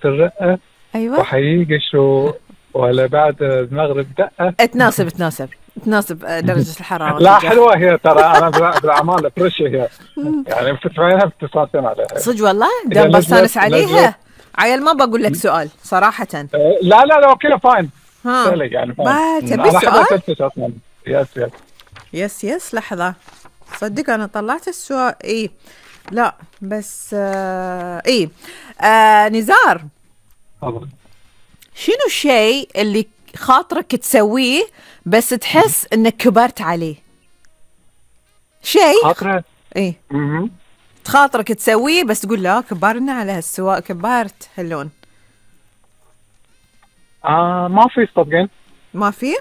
الرقة ايوه وحيجي شو ولا بعد المغرب دقة. تناسب درجة الحرارة لا والجو. حلوة هي ترى، أنا بالأعمال فريشة هي يعني بتسمعينها بتسمعين عليها. صدق والله إذا دام بستانس عليها. عيل ما بقول لك سؤال صراحة. لا لا لا كله فاين. ها يعني فاين. تبي أنا السؤال؟ أحب أتفتش أصلا. يس لحظة، صدق أنا طلعت السؤال. إيه لا بس نزار، شنو الشيء اللي خاطرك تسويه بس تحس انك كبرت عليه؟ شيء خاطرة ايه خاطرك تسويه بس تقول لا كبرنا على هالسواء، كبرت هاللون. ما في صدقين. ما في؟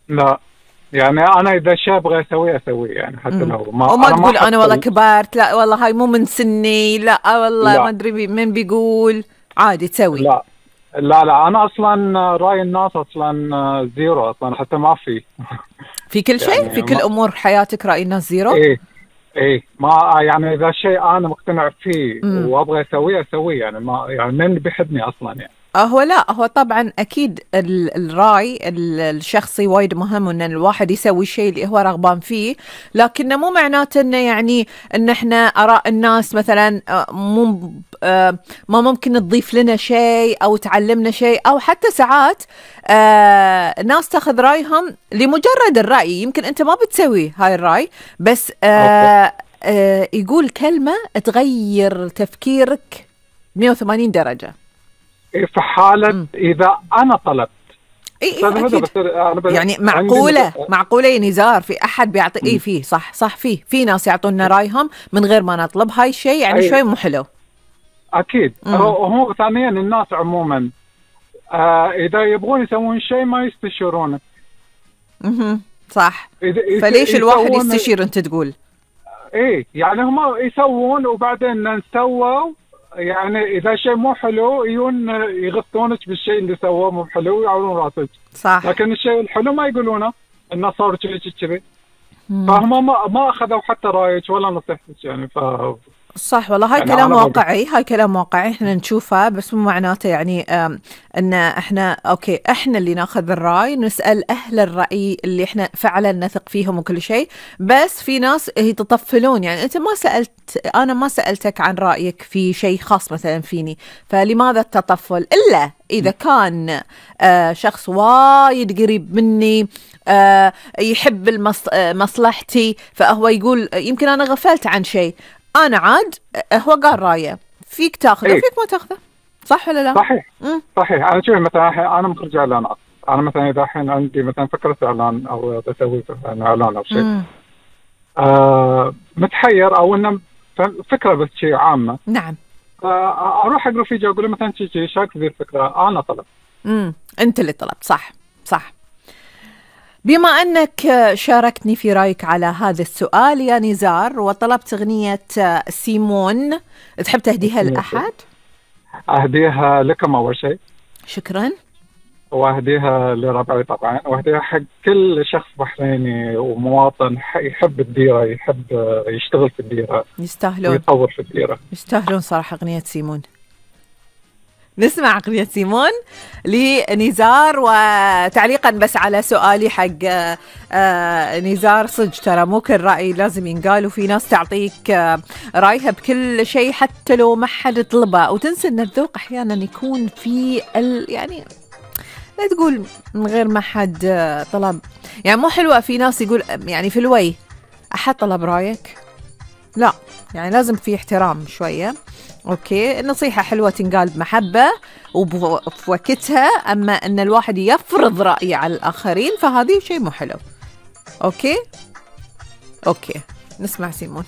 لا يعني أنا إذا شيء أبغى أسويه يعني حتى لو ما وما تقول أنا والله كبرت، لا والله هاي مو من سني، لا والله ما أدري من بيقول، عادي تسوي. لا أنا أصلا رأي الناس أصلا زيرو أصلا، حتى ما في كل شيء يعني في كل أمور حياتك رأي الناس زيرو. إيه ما يعني إذا شيء أنا مقتنع فيه وأبغى أسويه يعني ما يعني من بيحبني أصلا يعني. هو طبعا أكيد الرأي الشخصي وايد مهم، إن الواحد يسوي الشيء اللي هو رغبان فيه، لكنه مو معناته إنه يعني إن إحنا آراء الناس مثلا ما ممكن تضيف لنا شيء أو تعلمنا شيء، أو حتى ساعات ناس تاخذ رأيهم لمجرد الرأي، يمكن أنت ما بتسوي هاي الرأي بس يقول كلمة تغير تفكيرك 180 درجة. في حالة إذا أنا طلبت يعني معقولة يا نزار في أحد بيعطي فيه صح في ناس يعطونا رأيهم من غير ما نطلب، هاي الشيء يعني شوي مو حلو. أكيد. هو ثانيا الناس عموما إذا يبغون يسوون شيء ما يستشيرونه. صح. فليش الواحد يستشير أنت تقول؟ يعني هم يسوون وبعدين نسووا، يعني إذا شيء مو حلو يغطونك بالشيء اللي سووه مو حلو ويعورون راسك. صح. لكن الشيء الحلو ما يقولونه، الناس صاروا كذي فهم ما أخذوا حتى رأيك ولا نصيحتك يعني. صح والله هاي يعني كلام واقعي، هاي كلام واقعي احنا نشوفه، بس مو معناته يعني ان احنا اوكي احنا اللي ناخذ الرأي، نسأل اهل الرأي اللي احنا فعلا نثق فيهم وكل شيء، بس في ناس يتطفلون. يعني انت انا ما سألتك عن رأيك في شيء خاص مثلا فيني، فلماذا التطفل؟ الا اذا كان شخص وايد قريب مني يحب مصلحتي، فهو يقول يمكن انا غفلت عن شيء، أنا عاد هو قال رأيه، فيك تأخذه وفيك ما تأخذه، صح ولا لا؟ صحيح. أنا شوف مثلا أنا مخرج إعلانات، أنا مثلا إذا الحين عندي مثلا فكرة إعلان أو بسوي إعلان أو شيء متحير أو إنه فكرة بس شيء عامة. نعم. أروح أقرأ فيه أقول له مثلا شيء شاك ذي الفكرة أنا طلب. أنت اللي طلبت. صح. بما أنك شاركتني في رأيك على هذا السؤال يا نزار، وطلبت أغنية سيمون، تحب تهديها لأحد؟ أهديها لكم أول شيء. شكرا. وأهديها لربعي طبعا، وأهديها حق كل شخص بحريني ومواطن يحب الديرة، يحب يشتغل في الديرة، يستاهلون ويطور في الديرة، يستاهلون صراحة أغنية سيمون. نسمع أغنية سيمون لنزار. وتعليقا بس على سؤالي حق نزار، صدق ترى مو كل رأي لازم ينقال، وفي ناس تعطيك رأيها بكل شيء حتى لو ما حد طلبه، وتنسى أن الذوق أحيانا يكون في يعني لا تقول من غير ما حد طلب، يعني مو حلوة. في ناس يقول يعني في الوي أحد طلب رأيك، لا يعني لازم في احترام شوية. أوكي، النصيحة حلوة تنقال بمحبة وفي وقتها، أما أن الواحد يفرض رأيه على الآخرين فهذه شيء مو حلو. أوكي نسمع سيمون.